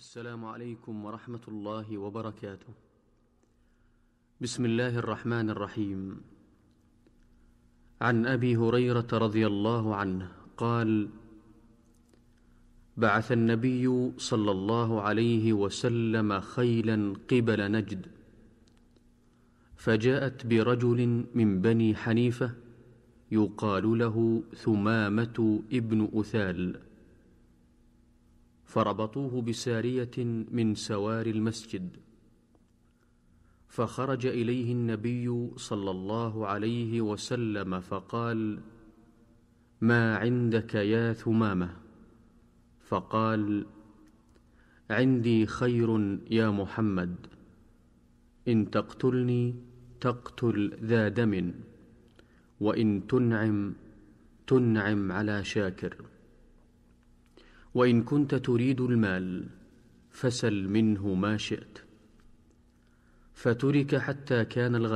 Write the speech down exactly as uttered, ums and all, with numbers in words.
السلام عليكم ورحمة الله وبركاته. بسم الله الرحمن الرحيم. عن أبي هريرة رضي الله عنه قال: بعث النبي صلى الله عليه وسلم خيلا قبل نجد، فجاءت برجل من بني حنيفة يقال له ثمامة ابن أثال، فربطوه بسارية من سوار المسجد، فخرج إليه النبي صلى الله عليه وسلم فقال: ما عندك يا ثمامة؟ فقال: عندي خير يا محمد، إن تقتلني تقتل ذا دم، وإن تنعم تنعم على شاكر، وإن كنت تريد المال فسل منه ما شئت. فترك حتى كان الغد،